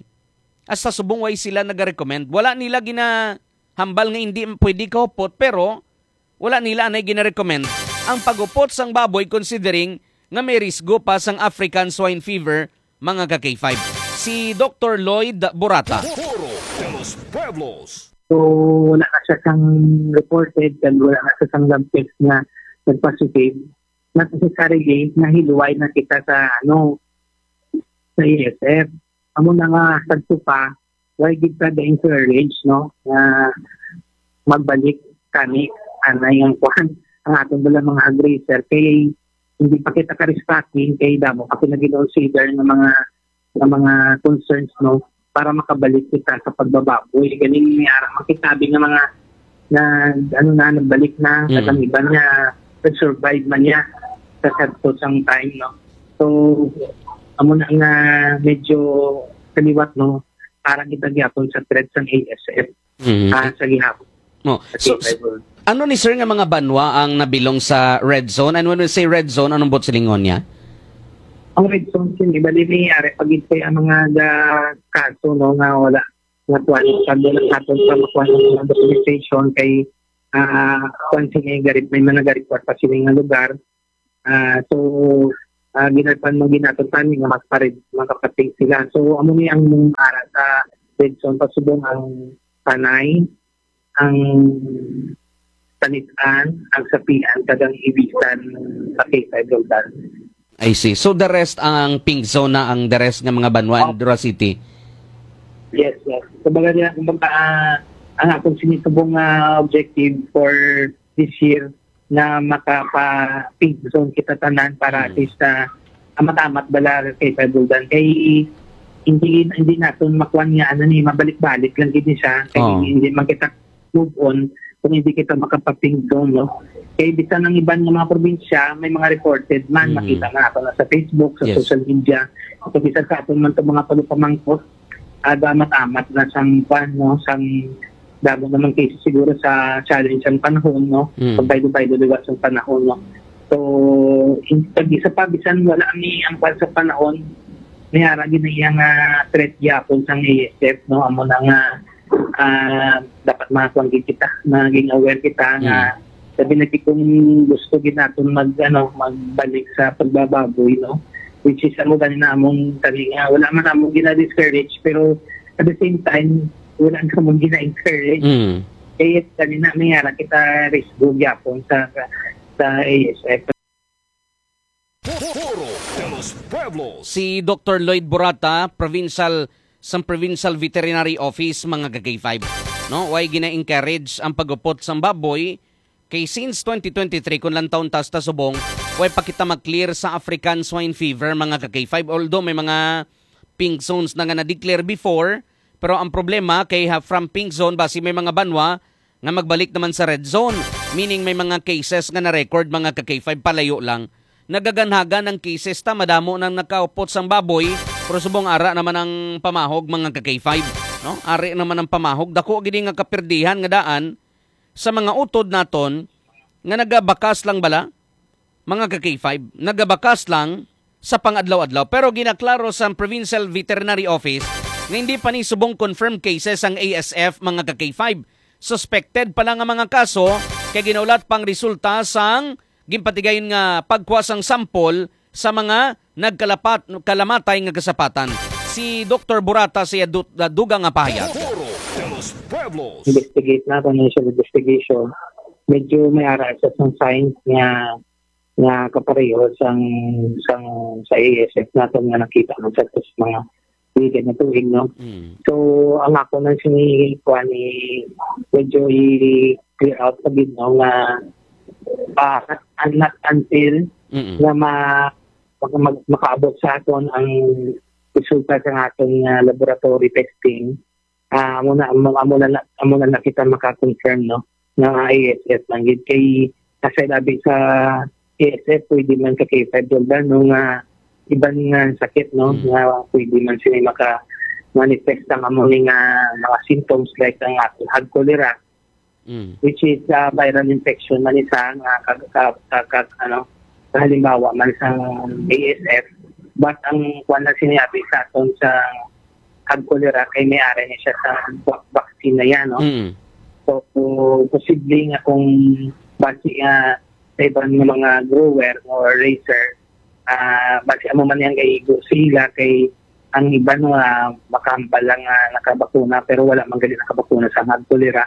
hasta subong way sila nagarecommend. Wala nila ginahambal nga hindi pwede kahupot, pero wala nila anay ginarecommend ang pagupot sang baboy, considering nga may risgo pa sang African Swine Fever, mga ka K five. Si Doktor Lloyd Borata. Foro de los Pueblos. So, wala na siya sang reported, and wala na siya sang lab test nga nag-positive. Not necessarily nga hiluway na kita sa, ano, sa A S F. Amo na nga, sagto pa, why gid ka ga-encourage, no, nga magbalik kani, anay ang kuan, ang aton bala mga hog raiser, kay hindi pa kita ka-restocking, kay damo pa kita gin-consider nga mga, nga mga concerns, no, para makabalik kita sa pagbababoy. Ganing may ara makitabi nga mga na, ano na, nagbalik na, Mm. kag ang iban nga nag-survive man niya sa sadto sang time, no? So, amo na nga medyo kaliwat, no? Para kita gyapon sa threat sang A S F. Mhm. Ah, sa gihapon. Oh. Sa So, K five s-, ano ni sir nga mga banwa ang nabilong sa red zone? And when we say red zone, anong buot silingon niya? Ang red zone, sini, bali, may ari pag ang mga ga-, kaso, no, nga wala, nga kuwan, pag wala naton pa makuha ng mga documentation kay, ah, kuwan, sini, gari-, may mga gari-, kuwan pa sini nga lugar. Ah, so, ah, ginapan mo ginaton pa ni nga mas pared-, makapatid sila. So, amo ni ang ara sa red zone, pasubong ang Panay, ang Tanitan, ang Sapian, kag ang Ibisan sa K five Roldan. I see. So, the rest, ang pink zone na ang the rest nga mga banwa in Opo. Dura City? Yes, yes. Kumbaga, nila, kumbaga, ah, ang akong sinisubong nga objective for this year na makapa-pink zone kita tanan para at Mm. least, ah, amat-amat bala kay Paguldan. Kay hindi, hindi naton makuan nga, ano ni, mabalik-balik lang gid ni siya. Kay Oo. hindi man kita move on kung hindi kita makapa-pink zone, no? Kay bisan ang iban nga mga probinsya, may mga reported man, Mm. makita na ato na sa Facebook, sa Yes. social media. Kung bisan sa aton man itong mga pagpamangkot, ah, amat-amat na sang kwan, no? Sang damo naman cases siguro sa challenge ang panahon, no? Mm. Pagbaylo-baylo liwat sang panahon, no? So, in-, pag isa pa, bisan wala ni ang kwan sa panahon, may ara gid na iya nga threat gyapon sang A S F, no? Amo na nga, ah, dapat mga kwan gid kita, maging aware kita nga Mm. sabi na gid kung gusto gid naton mag, ano, magbalik sa pagbababoy, no? Which is, amo gani na among, sabi nga, wala man among gina-discourage, pero at the same time, wala ka mong gina-encourage. Mm. Kaya kanina, may ara kita risgo gyapon sa, sa, sa A S F. Foro de los Pueblos. Si Doctor Lloyd Borata, provincial, sang Provincial Veterinary Office, mga ka-K five. No, way gina-encourage ang pag-upot sang baboy, kay since twenty twenty-three, kung lantawon ta sa subong, way pa kita ma-clear sa African Swine Fever, mga ka-K five. Although may mga pink zones na nga na-declare before, pero ang problema kay ha, from pink zone, basi may mga banwa nga magbalik naman sa red zone, meaning may mga cases nga na-record, mga ka-K five, palayo lang. Nagaganhagan ang cases ta, madamo nang nakaupot sang baboy, pero subong ara naman ang pamahog, mga ka-K five, no? Ari naman ang pamahog, dako gid nga kapirdihan nga daan sa mga utod naton nga nagabakas lang bala, mga ka-K five, nagabakas lang sa pang-adlaw-adlaw. Pero ginaklaro sa Provincial Veterinary Office nga hindi pa ni subong confirmed cases ang A S F, mga ka-K five. Suspected pa lang ang mga kaso, kay ginaulat pang resulta sang ginpatigayon nga pagkuha sang sample sa mga nagkalapat-, kalamatay nga kasapatan. Si Doktor Burata sa iya du-, dugang nga pahayag. Foro de los Pueblos. Investigate naton, initial investigation. Medyo may ara sa sang signs nga, nga kapareho sang, sang sa A S F naton nga nakita man sa mga weekend na tuig, no? Mm. So, ang ako nang sini, kuwan, ni, medyo i-clear out sa gid, no, nga, ah, not, not until Mm-mm. nga ma-, mag-, mag-, makaabot sa aton ang resulta sa aton nga laboratory testing, ah, amo na, amo, amo na, na, amo na, na kita maka-confirm, no, nga A S F lang gid. Kay, aside abi sa A S F, pwede man sa K five Doldan, no, nga iban nga sakit, no, Mm. nga pwede man sila maka-manifest ang amo ni nga mga symptoms like ang ato hag cholera, Mm. which is, ah, viral infection man isa nga ka-, ka-, ka-, ka-, ano, kahalimbawa man sa A S F. But ang kuwan na sinabi sa aton sa hag cholera kay may ari ni siya sa va-, vaccine na yan, no? Mm. So, posible nga kung basi nga sa iban nga mga grower or raiser, ah, basi amo man yang kaigo sila kay ang iban nga makahambal lang nga nakabakuna pero wala man gali nakabakuna sa hag cholera.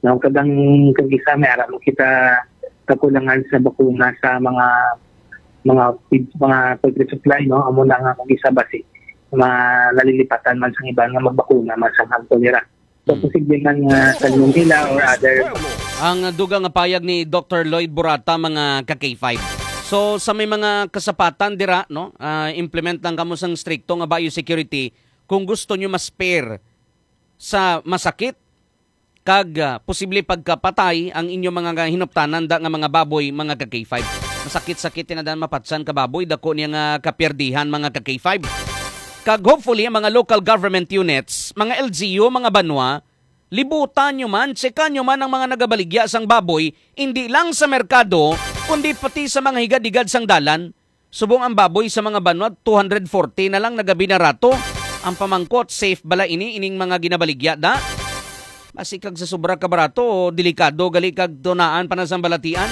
No, kag ang, kag isa may ara mo kita kakulangan sa bakuna sa mga, mga feed, mga food resupply, no? Amo na nga kag isa basi ma-, nalilipatan man sa iban nga magbakuna man sa hag cholera. So, Mm. posible man nga salmonella or other. Ang dugang nga payag ni Doktor Lloyd Burata, mga ka-K five. So, sa may mga kasapatan dira, no, ah, implement lang kamo sang strikto nga biosecurity kung gusto nyo ma-spare sa masakit kag, ah, posible pagkapatay ang inyo mga hinuptanan da nga mga baboy, mga ka-K five. Masakit-sakit tinadan mapatsan ka baboy, dako niya nga kapierdihan, mga ka-K five. Kag hopefully, ang mga local government units, mga L G U, mga banwa, Libutan nyo man, tsekan nyo man ang mga nagabaligya sang baboy, indi lang sa merkado, kundi pati sa mga higad-higad sang dalan. Subong ang baboy sa mga banwa, two hundred forty na lang, nagabinarato. Ang pamangkot, safe bala ini, ining mga ginabaligya da? Basi kag sa sobra ka barato, delikado gali kag tunaan pa na sang balatian.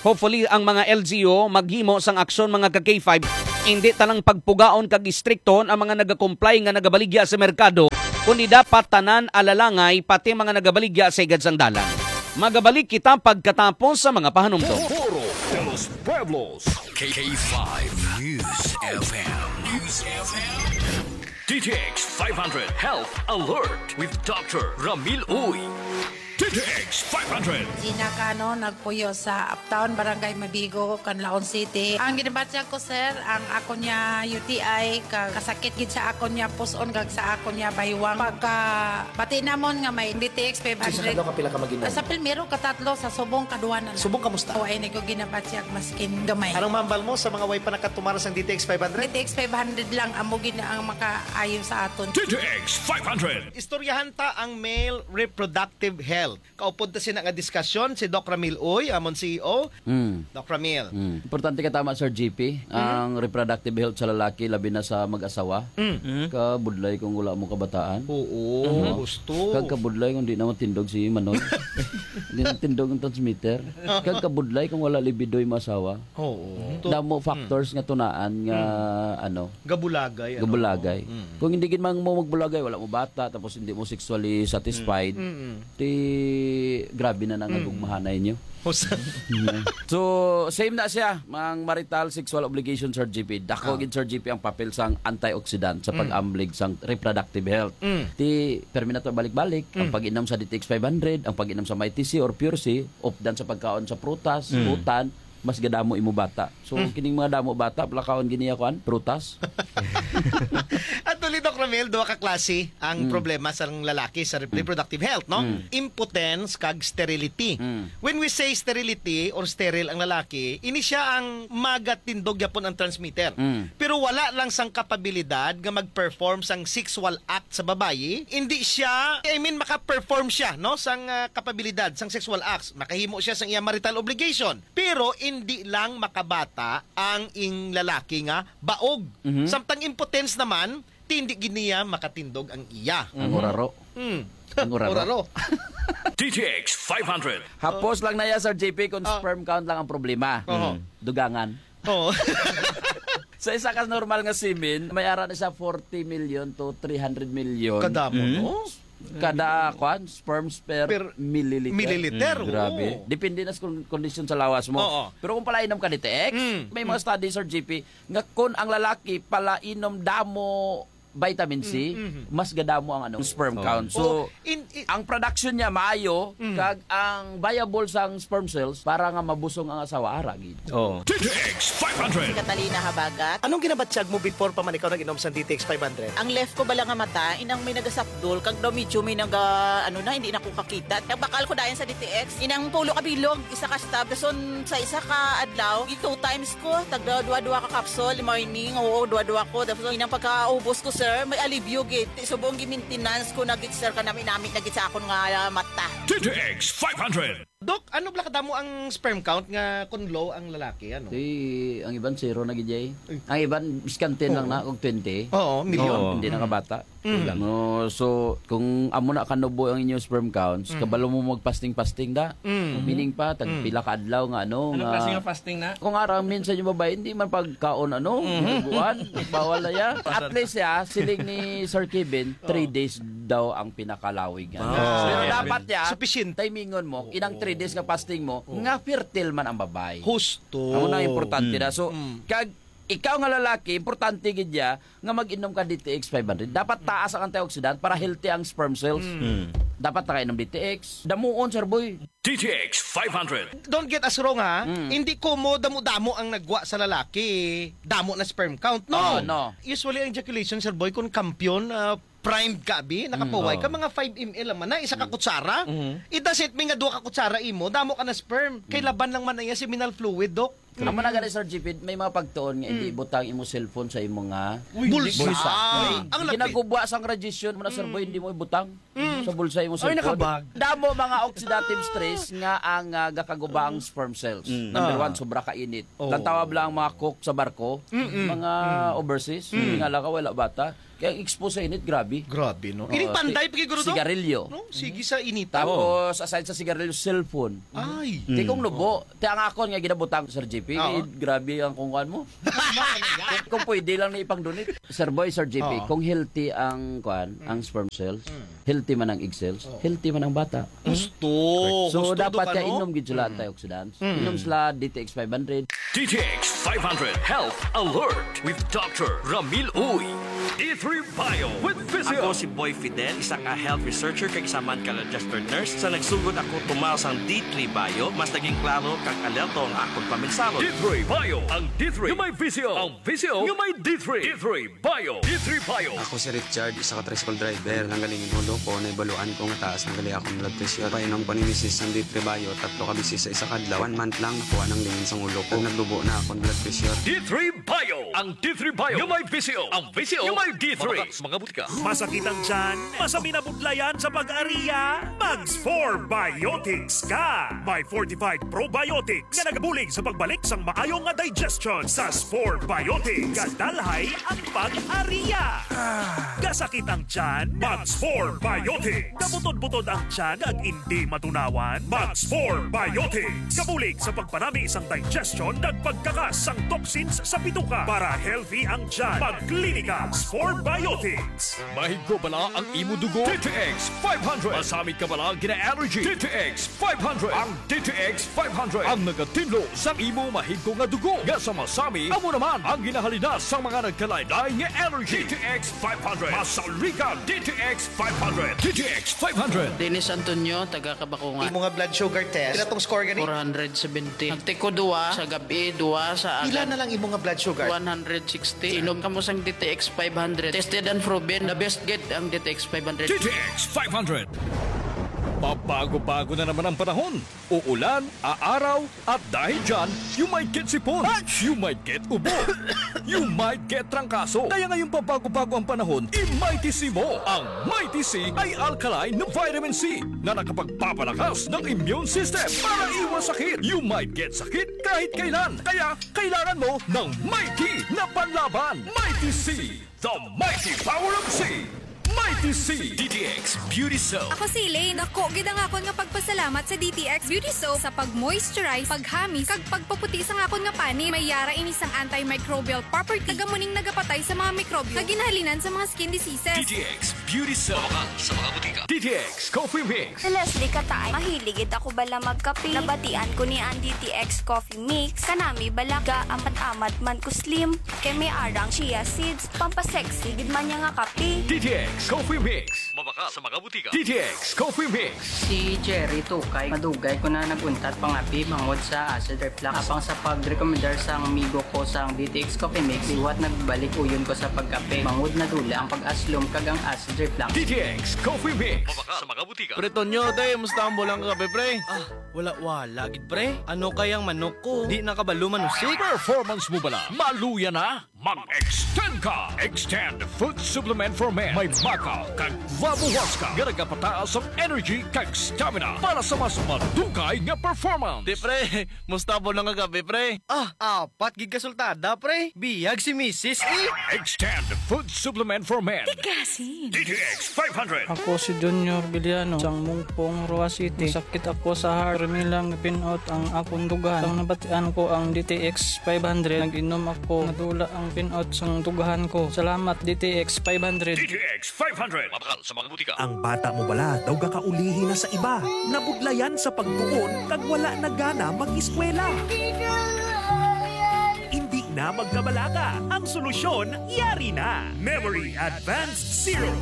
Hopefully, ang mga L G U maghimo sang aksyon, mga ka K five. Indi ta lang pagpugaon kag istriktohon ang mga nagakomply nga nagabaligya sa merkado, kundi dapat tanan alalangay, pati ang mga nagabaligya sa higad sang dalan. Magabalik kita pagkatapos sa mga pahanumdom. Foro de los Pueblos. K K five News F M. News F M. D T X five hundred Health Alert with Doctor Ramil Uy. D T X five hundred. Gina Cano, nagpuyo sa Uptown, Barangay Mabigo, Canlaon City. Ang ginabatyag ko, sir, ang ako niya U T I, ka-, kasakit gid sa ako niya puson, kag sa ako niya baywang. Pagka bati namon nga may D T X five hundred. Sa kadlaw ka pila ka mag-inom? Sa primero, katatlo, sa subong, kadua na lang. Subong, kamusta? O, ay, ni ko ginabatyag, maskin gamay. Anong mahambal mo sa mga way pa nakatumar sang D T X five hundred? D T X five hundred lang, amo gid na ang makaayo sa aton. D T X five hundred. Istoryahan ta ang male reproductive health. Kaupod ta sina nga diskasyon si Doc Ramil Uy, amon C E O. Mm. Doc Ramil. Mm. Importante ka tama, Sir G P, ang reproductive health sa lalaki, labi na sa mag-asawa. Mm. Kabudlay kung wala mo kabataan. Oo, Mhm. gusto. Kag kabudlay kung di na matindog si Manoy. Di na tindog ang transmitter. Kag kabudlay kung wala libido yung asawa. Oo. Damo factors nga tunaan nga, ano, Gabulagay, ano? Gabulagay. Mm. Kung hindi gid man mo magbulagay, wala mo bata, tapos hindi mo sexually satisfied, Mm. ti grabe na nang Mm. gugmahanay niyo. Usa. So, same na siya, ang marital sexual obligation, Sir G P. Dako Ah. gid, Sir G P, ang papel sang antioxidant sa Mm. pag-amblig sang reproductive health. Mm. Ti, permi na to balik-balik, ang Mm. pag-inom sa D T X five hundred, ang pag-inom sa Mighty C or Pure C, updan sa pagkaon sa prutas, Mm. utan, mas gadamo imo bata. So, Hmm. kining mga damo bata, palakaon gini ya, kuan, prutas. Actually, Doc Ramil, duha ka klase ang Hmm. problema sa lalaki sa rep-, Hmm. reproductive health, no? Hmm. Impotence kag sterility. Hmm. When we say sterility or sterile ang lalaki, ini siya ang magatindog yapon ang transmitter. Hmm. Pero wala lang sang kapabilidad nga mag-perform sang sexual act sa babayi, hindi siya, I mean, maka-perform siya, no, sang, ah, kapabilidad sang sexual acts. Makahimo siya sang iya marital obligation. Pero indi lang makabata ang ing lalaki nga baog. Mhm. Samtang impotence naman, ti indi gid niya makatindog ang iya. Ang Mhm. uraro. Hmm. Ang uraro. Uraro. D T X five hundred. Hapos lang na ya, Sir J P, kung Oh. sperm count lang ang problema. Oho. Mm. Dugangan. Oo. Sa isa ka normal nga semen, may ara na siya forty million to three hundred million. Kadamo, Mm. no? Kada, kwan, sperms per Per milliliter. milliliter, Mm. Grabe. oo. Depende na sa kon-, kondisyon sa lawas mo. Oo. Pero kung palainom ka D T X, Mm. may mga Mm. study, Sir G P, nga kung ang lalaki palainom damo vitamin C, Mm, mm. mas gadamo ang, ano, sperm Oh. count. So, Oo. In, in ang production niya maayo, Mm. kag ang viable sang sperm cells para nga mabusong ang asawa, ara gid. Oh. D T X five hundred. Catalina Habagat. Anong ginabatyag mo before pa man ikaw nag-inom sa D T X five hundred? Ang left ko bala nga mata, inang may nagasapdol, kag daw medyo may naga, ano na, hindi na ko kakita. Nagbakal ko dayon sa D T X. Inang pulo ka bilog, isa ka stab. Dason sa isa ka adlaw, two times ko, tagda dua-dua ka capsule, morning, oo, dua-dua ko. Dason inang pagkaubos ko, sir, may alibyo gid. Subong gi-maintenance ko na gid, sir, kanami-nami na gid sa akon nga mata. D T X five hundred. Doc, ano bala kadamo ang sperm count nga kun low ang lalaki, ano? Di, ang iban zero na gid, jay. Ay. Ang iban, biskan ten lang Oo. na, kung twenty. Oo, milyon. Oo. Hindi Mm. nakabata. Mm. No, so, kung amo na kanubo ang inyong sperm counts, Mm. kabalo mo mag-fasting-fasting da. Mm. Meaning pa, tag Mm. pila ka adlaw nga, ano, Ano nga klase nga fasting na? Kung arang minsan yung babae, hindi man pagkaon, ano, Mhm. buwan, bawal na ya. At least, ya, siling ni Sir Kevin, three Oo. days daw ang pinakalawig nga. Ah. Pero Very dapat, ya, Sufficient. timingon mo, Oo. inang three days nga fasting mo, Oo. nga fertile man ang babae. Husto. Amo na ang importante Mm. na. So, Mm. kag ikaw nga lalaki, importante gid ya nga mag-inom ka D T X five hundred. Dapat taas ang antioxidant para healthy ang sperm cells. Mm. Mm. Dapat nakainom D T X. Damuon, Sir Boy. D T X five hundred. Don't get us wrong, ha. Mm. Hindi ko mo damo-damo ang nagwa sa lalaki, damo na sperm count. No. Oh, no. Usually, ang ejaculation, Sir Boy, kung kampiyon, ah, primed ka, abi, nakapuway Mm. ka, Oo. mga five M L lang man na, isa ka Mm. kutsara. Mm-hmm. It doesn't mean nga duha ka kutsara imo, damo ka na sperm. Kay Mm. laban lang man na iya seminal fluid, Doc. Amo na gani, Sir G P, may mga pagtuon nga hindi Mm. ibutang imo cellphone sa imo nga Uy, bulsa. Bulsa. Ah, ang lapit. Ginagubwa sang radiation mo na, Sir Boy, Mm. hindi mo ibutang Mm. sa bulsa imo Ay, cellphone. Nakabag. Damo mga oxidative stress nga ang, ah, gakaguba ang sperm cells. Mm. Number Ah. one, sobra ka init. Oh. Lantawa lang ang mga cook sa barko, Mm-mm. mga Mm. overseas, Mm. tingala ka, wala bata. Kaya ang expose sa init, grabe. Grabe, no? Oh, Ining panday, ti-, pagiguro to? Sigarilyo. No? Sige sa inita. Tapos, aside sa sigarilyo, cellphone. Ay. Ti kung Mm. nubo, ti ang akon nga ginabutang, Sir G P, Oo. eh, grabe ang kung kuwan mo. Kung, kung pwede lang na ipang-donate. Sir Boy, Sir G P, Oo. kung healthy ang kuwan, Mm. ang sperm cells, Mm. healthy man ang egg cells, Oo. healthy man ang bata. Gusto. So, Gusto dapat do ka, kaya no? inom gid sila Mm. antioxidants. Mm. Inom sila D T X five hundred. D T X five hundred Health Alert with Doctor Ramil Uy. D three Bio with Physio. Ako si Boy Fidel, isa ka health researcher kag isa man ka registered nurse. Sa nagsugod ako tumaw sang D three Bio, mas naging klaro kag alerto ang akon paminsalo. D three Bio, ang D three nga may Physio, ang Physio nga may D three. D three Bio. D three Bio. Ako si Richard, isa ka tricycle driver. Nanggaling ang ulo ko, naibaluan ko nga taas na gali akong blood pressure. Painom ko ni misis sang D three Bio, tatlo ka beses sa isa ka adlaw. One month lang, nakuha nang lingin sang ulo ko. Naglubo na akong blood pressure. D three Bio. Ang D three Bio nga may Physio. Ang Physio nga may D three. Mabakal sa mga butika. Masakit ang tiyan? Masami na budlayan sa pag-ariya? Mag-Spore Biotics ka! May fortified probiotics nga nagabulig sa pagbalik sang maayo nga digestion. Sa Spore Biotics, gadalhay ang pag-ariya. Gasakit ang tiyan? Mag-Spore Biotics. Gabutod-butod ang tiyan kag indi matunawan? Mag-Spore Biotics. Gabulig sa pagpanami sang digestion kag pagkakas sang toxins sa bituka. Para healthy ang tiyan, mag-Klinika Spore Biotics. Mahigko bala ang imo dugo? D T X five hundred. Masami ka bala gina-allergy? D T X five hundred. Ang D T X five hundred ang nagatinlo sa imo mahigko nga dugo nga sa masami, amo naman ang ginahalinas sa mga nagkalain-lain nga allergy. D T X five hundred. Masaligan, D T X five hundred. D T X five hundred. Dennis Antonio, taga Kabakungan. Imo nga blood sugar test, pila tong score gani? Four hundred seventy. Nagtiko duwa sa gabi, duwa sa Pila agad. Na lang imo nga blood sugar? One hundred sixty. Inom kamo sang D T X five hundred. Tested and proven. The best gid ang D T X five hundred. D T X five hundred. Pabago-bago na naman ang panahon. Uulan, aaraw, at dahil dyan, you might get sipon. You might get ubo. You might get trangkaso. Kaya ngayong pabago-bago ang panahon, i-Mighty C mo. Ang Mighty C ay alkaline na vitamin C na nakapagpapalakas ng immune system para iwas sakit. You might get sakit kahit kailan. Kaya kailangan mo ng Mighty na panlaban. Mighty C, the mighty power of C. Mighty C. D T X Beauty Soap. Ako si Elaine. Dako gid ang akon nga pagpasalamat sa D T X Beauty Soap sa pag-moisturize, paghamis, kag pagpaputi sang akon nga panit. May yara ini sang antimicrobial property. Kag amo ning nagapatay sa mga mikrobyo nga ginahalinan sa mga skin diseases. D T X Beauty Soap. Mabakal sa mga butika. D T X Coffee Mix. Si Leslie Kataay, mahilig gid ako bala magkape. Nabatian ko ni ang D T X Coffee Mix. Kanami bala ga amat-amat man ko slim. Kay may arang chia seeds, pampasexy gid man niya nga kape. D T X Coffee Mix. Mabakal sa mga butika. D T X Coffee Mix. Si Jerry Tukay, madugay ko na nag-untat pangape bangod sa acid reflux. Apang sa pagrekomendar sang amigo ko sang D T X Coffee Mix, liwat nagbalik uyon ko sa pagkape. Bangod nadula ang pag-aslom kag ang acid reflux. D T X Coffee Mix. Mabakal sa mga butika. Pre Tonyo, te, musta ang bulang kagabi, pre? Ah, wala-wala gid, pre. Ano kayang manok ko? Di na kabalo manusik. Performance mo bala? Maluya na? Mag-extend ka! Extend Food Supplement for Men. May maca kag guava huasca nga nagapataas ang energy kag stamina para sa mas madugay nga performance. Te, pre, musta ang bulang kagabi, pre? Ah, apat gid ka sultada, pre. Biyag si misis, eh. Extend Food Supplement for Men. Tigasin. D T X five hundred. Ako si Junior Villano, sang Mungpong, Roa City. Sakit ako sa heart. Permi lang pin-out ang akong dughan. Sang nabatian ko ang D T X five hundred, nag-inom ako. Nadula ang pin-out sang dughan ko. Salamat, D T X five hundred. D T X five hundred. Mabakal sa mga butika. Ang bata mo bala daw gakaulihi na sa iba? Nabudlayan sa pagtuon kag wala na gana mag-eskwela? Hindi na magkabalaka. Ang solusyon, yari na. Memory Advanced Serum.